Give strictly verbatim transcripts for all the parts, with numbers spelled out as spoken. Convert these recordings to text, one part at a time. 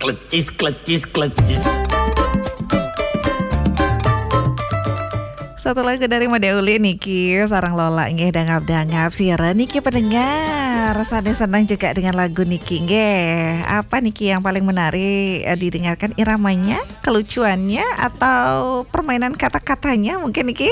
Klecis, klecis, klecis. Satu lagu dari Mode Uli niki sareng Lola nggih, dangap-dangap siaran niki pendengar. Sanes senang juga dengan lagu niki nggih. Apa niki yang paling menarik, eh, didengarkan, iramanya, kelucuannya, atau permainan kata-katanya mungkin niki?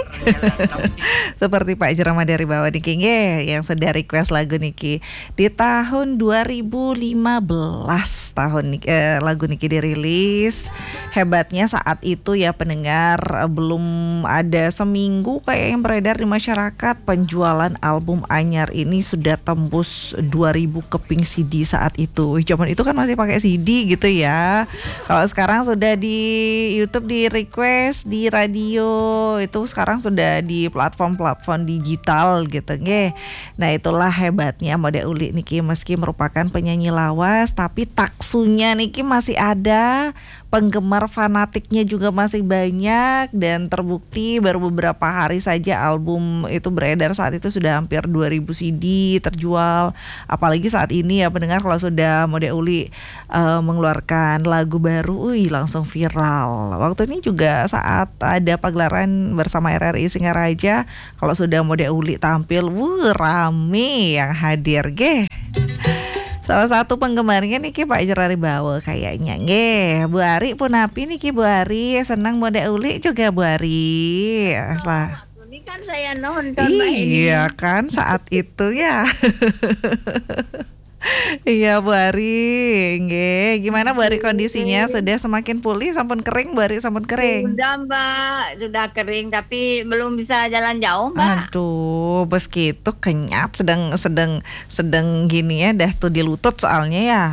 Seperti Pak Jerama dari bawah niki nggih yang sudah request lagu niki. Di tahun dua ribu lima belas tahun ni-, eh, lagu niki dirilis. Hebatnya saat itu ya pendengar, eh, belum ada seminggu kayak yang beredar di masyarakat, penjualan album anyar ini sudah tembus dua ribu keping C D saat itu. Wih, zaman itu kan masih pakai C D gitu ya. Kalau sekarang sudah di YouTube di request, di radio, itu sekarang sudah di platform-platform digital gitu nggih. Nah, itulah hebatnya Mode Uli niki, meski merupakan penyanyi lawas, tapi taksunya niki masih ada, penggemar fanatiknya juga masih banyak, dan terbukti baru beberapa hari saja album itu beredar, saat itu sudah hampir dua ribu C D terjual. Apalagi saat ini ya pendengar, kalau sudah Mode Uli, eh, mengeluarkan lagu baru, wih, langsung viral. Waktu ini juga saat ada pagelaran bersama R R I Singaraja, kalau sudah Mode Uli tampil, wuh, rame yang hadir, geh. Salah satu penggemarnya niki Pak Jerari Bawa kayaknya, nggih. Bu Ari punapi niki, Bu Ari? Senang Mode Uli juga, Bu Ari? Salah. Ini kan saya nonton, Mbak Eni. Iya kan, saat itu ya. Iya, Bu Ari. Nggih, gimana, Bu Ari, kondisinya? Sudah semakin pulih, sampun kering, Bu Ari, sampun kering? Sudah, Mbak, sudah kering, tapi belum bisa jalan jauh, Mbak. Aduh, bes gitu, kenyat, sedang, sedang, sedang gini ya, dah tuh di lutut soalnya ya.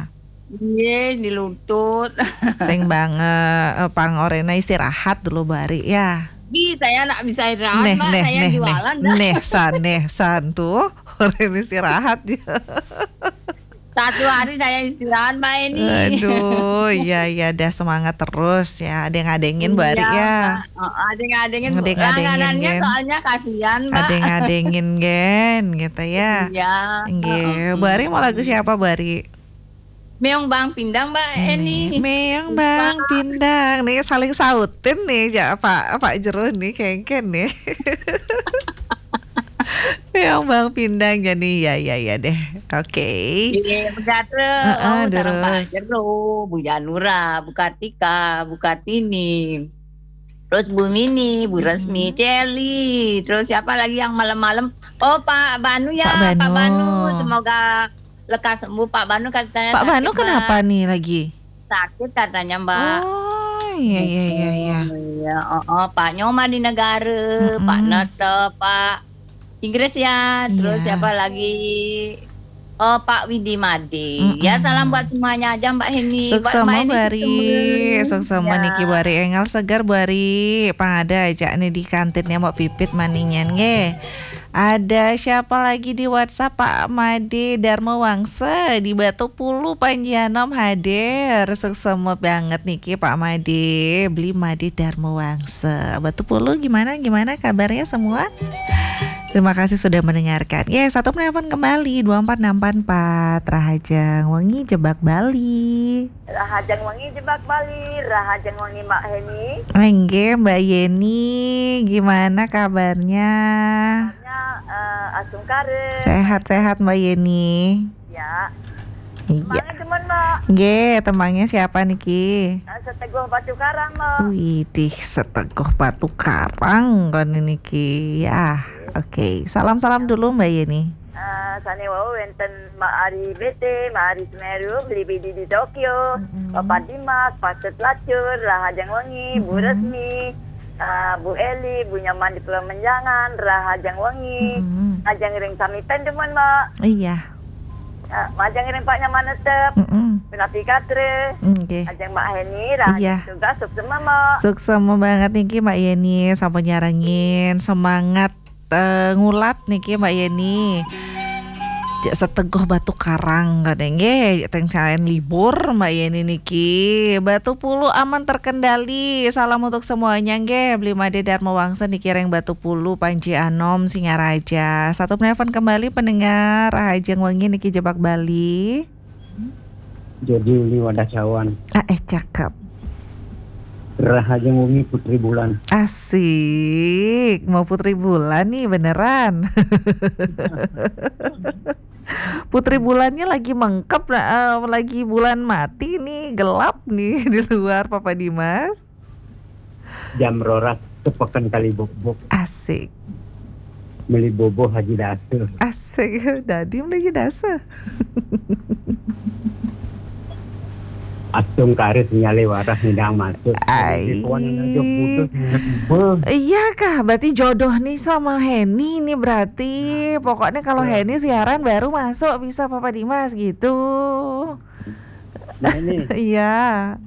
Iya, di lutut. Sing banget, eh, pang orena istirahat dulu, Bu Ari, ya. Ih, saya ndak bisa istirahat, Mbak. Saya jualan, Mbak. Neh, san, neh, san tuh. Orena istirahat ya. Satu hari saya istirahat, Mbak Eni. Aduh, iya, iya, dah semangat terus ya. Ada yang ngadengin, Bu Ari, ya. Iya, Mbak. Heeh, ada yang ngadengin, Bu. Ada yang ngadengin, langganannya gen. Soalnya kasihan, Mbak. Ada yang ngadengin, gen, gitu ya. Iya, nggih. Heeh. Bu Ari mau lagu siapa, Bu Ari? Meong Bang Pindang, Mbak Eni. Meong Bang Pindang. Nih, saling sautin nih, ya, Pak, Pak Jero nih, kengken nih. Meong Bang Pindang, jadi ya, ya, ya deh. Oke. Iya, Bu Gatra. Heeh, oh, sareng Pak Jero, Bu Janura, Bu Kartika, Bu Kartini. Terus Bu Mini, Bu Resmi, Celi. Terus siapa lagi yang malam-malam? Oh, Pak Banu ya, Pak Banu. Semoga lekas sembuh, Pak Banu, katanya sakit, Mbak. Pak Banu kenapa nih lagi? Sakit katanya, Mbak. Oh, iya, iya, iya, iya. Iya, oh, oh, Pak Nyoma di Negara, Pak Nete, Pak Inggris ya, terus siapa lagi? Oh, Pak Widi Made. Ya, salam buat semuanya aja, Mbak Heni. Buat Mbak Heni, suksema. Suksema niki, Bu Ari. Enggal seger, Bu Ari. Pang ada aja nih di kantinnya Mbak Pipit maninyan, nggih. Ada siapa lagi di WhatsApp? Pak Made Darma Wangsa di Batu Pulu, Panji Anom hadir. Suksema banget niki Pak Made, Beli Made Darma Wangsa. Batu Pulu gimana, gimana kabarnya semua? Terima kasih sudah mendengarkan. Ya, satu penelpon kembali, dua empat enam empat empat. Rahajeng wengi Jebak Bali. Rahajeng wengi Jebak Bali, Rahajeng wengi Mbak Heni. Nggih, Mbak Yeni, gimana kabarnya? Kabarnya, eh, asung kare. Sehat-sehat, Mbak Yeni. Ya. Iya. Tembangnya demen, Mbak. Nggih, tembangnya siapa niki? Eh, Seteguh Batu Karang, Mbak. Widih, Seteguh Batu Karang kon niki. Ya, oke. Salam-salam dulu, Mbak Yeni. Eh, sane wau wenten Mbak Ari B T, Mbak Ari Semeru, Beli Bidi di Tokyo, Bapak Dimas, Pak Set Lacur, Rahajeng Wengi, Bu Resmi, eh, Bu Eli, Bu Nyaman di Pulau Menjangan, Rahajeng Wengi, Ajeng ring sami pen demen, Mbak. Iya. Eh, majeng ring Pak Nyaman tetep, Penapi Katre, nggih. Ajeng Mbak Heni, Rahajeng tugas, suksema, Mbak. Suksema banget niki, Mbak Yeni, sampun nyarengin, semangat eh, ngulat niki, Mbak Yeni. Cek Seteguh Batu Karang, kadang nggih, teng kalian libur, Mbak Yeni niki. Batu Pulu aman terkendali. Salam untuk semuanya nggih. Beli Made Darma Wangsa niki ring Batu Pulu, Panji Anom, Singaraja. Satu penelpon kembali pendengar Rahajeng Wengi niki Jebak Bali. Jadi ini wadah cawan. Ah, eh, Cakep. Rahajeng wengi Putri Bulan. Asik, mau Putri Bulan nih beneran. Putri Bulannya lagi mengkep, eh, lagi bulan mati nih, gelap nih di luar, Papa Dimas. Jam roras tepeken kali bobok. Asik. Meli bobo Haji Dasa. Asik, dadi meli Haji Dasa. Astung karis nyale warah ngidang masuk. Ai. Iya kah? Berarti jodoh nih sama Heni nih berarti. Nah, pokoknya kalau Heni siaran baru masuk bisa Papa Dimas gitu. Nah, ini. Iya.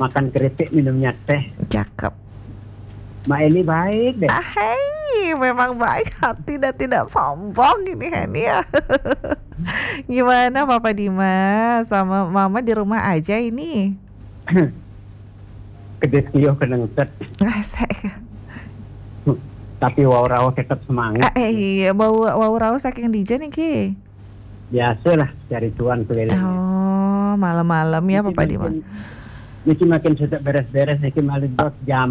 Makan keripik, minumnya teh. Cakep. Mbak Eli baik deh. Ah, hei, memang baik hati dan tidak sombong ini Heni ya. Gimana Papa Dimas? Sama Mama di rumah aja ini? Kedis kiyuh kenengket. Asik. Tapi wau rauh tetap semangat. Ah, eh, iya, wau, wau rauh saking dija niki? Biasalah, cari cuan keliling. Oh, malam-malam ya, Papa Dimas. Niki makin, niki makin sedek beres-beres, niki malih jam,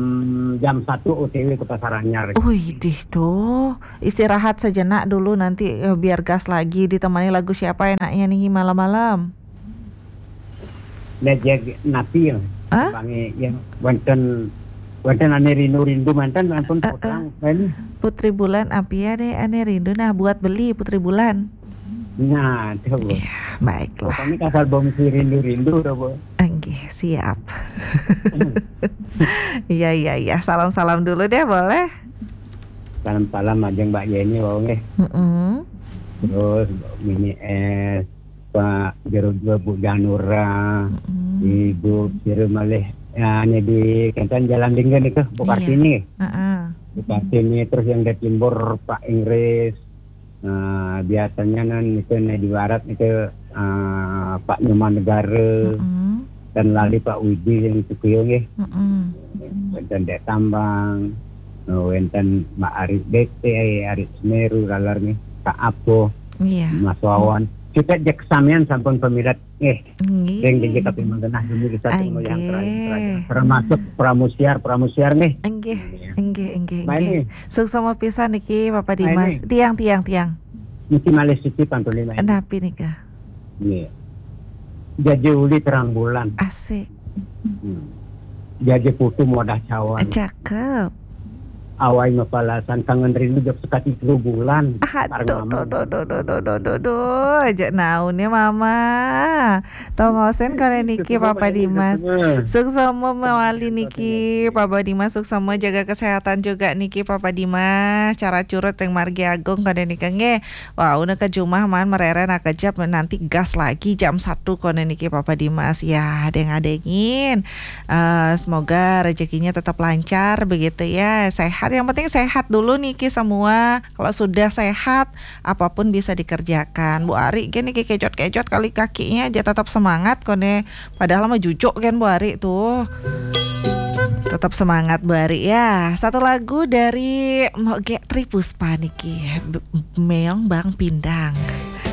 jam satu O T W ke Pasar Anyar. Wih, dih tuh. Istirahat sejenak dulu, nanti, eh, biar gas lagi. Ditemani lagu siapa enaknya nih malam-malam? Nah, jeg napi ya. Hah? Bangi yang wonten, wonten ane rindu-rindu manten ampun. Eh, eh. Putrang, ini. Putri Bulan, api ya deh, ane rindu. Nah, buat beli Putri Bulan. Nah, tuh, Bu. Ya, baiklah. Pokoknya kasar bom si rindu-rindu, tuh, Bu. Enggih, siap. Iya, iya, iya. Salam-salam dulu deh, boleh? Salam-salam ajeng Mbak Yeni, wau nggih. Mm-mm. Terus Mini S, Pak Jero dua, Bu Janura, mm-mm, Ibu Sira malih, ya, ini di Kenten Jalan Dingga nih, Bu Kartini. Iya. Heeh. Bu Kartini, terus yang dari timur, Pak Inggris. Nah, biasanya nan itu nih di barat itu, eh, Pak Nyoman Negara, mm-mm, dan lali Pak Widi yang itu kuyo nggih. Mm-mm. Wonten Dek Tambang, eh, wonten Mbak Ari B T, Ari Semeru, lalar nggih, Kak Apo, iya, Mas Wawan. Kita jek samian sampun pemilat nggih. Nggih. Ring digi tapi menggenah demi kita semua yang terakhir, terakhir. Termasuk Pramusiar, Pramusiar nggih. Nggih, nggih, nggih, nggih. Suksma pisan niki, Bapak Dimas. Tiang, tiang, tiang. Niki malih siki pantun lima ini. Napi nika? Nggih. Jaja uli terang bulan. Asik. Hmm. Jaja putu modah cawan. Cakep. Awai mapalasan kangen rindu jok sekati telu bulan. Aduh, aduh, aduh, aduh, aduh, aduh, aduh, aduh, aja naune Mama. Tongosen kone niki, Papa Dimas. Suksma mawali niki, Papa Dimas, suksma jaga kesehatan juga niki, Papa Dimas. Cara curut ring Margi Agung kone niki nggih. Wau, neka jumah maan merere nakejap, nanti gas lagi jam satu kone niki, Papa Dimas. Ya, deng-adengin. Eh, semoga rezekinya tetap lancar begitu ya. Sehat, yang penting sehat dulu niki semua. Kalau sudah sehat, apapun bisa dikerjakan. Bu Ari gini kejot-kejot kali kakinya aja tetap semangat kone. Padahal mah jujuk kan Bu Ari tuh. Tetap semangat Bu Ari ya. Satu lagu dari Moge Tripuspa niki. B-, Meong Bang Pindang.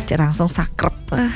Cek langsung sakrep. Ah.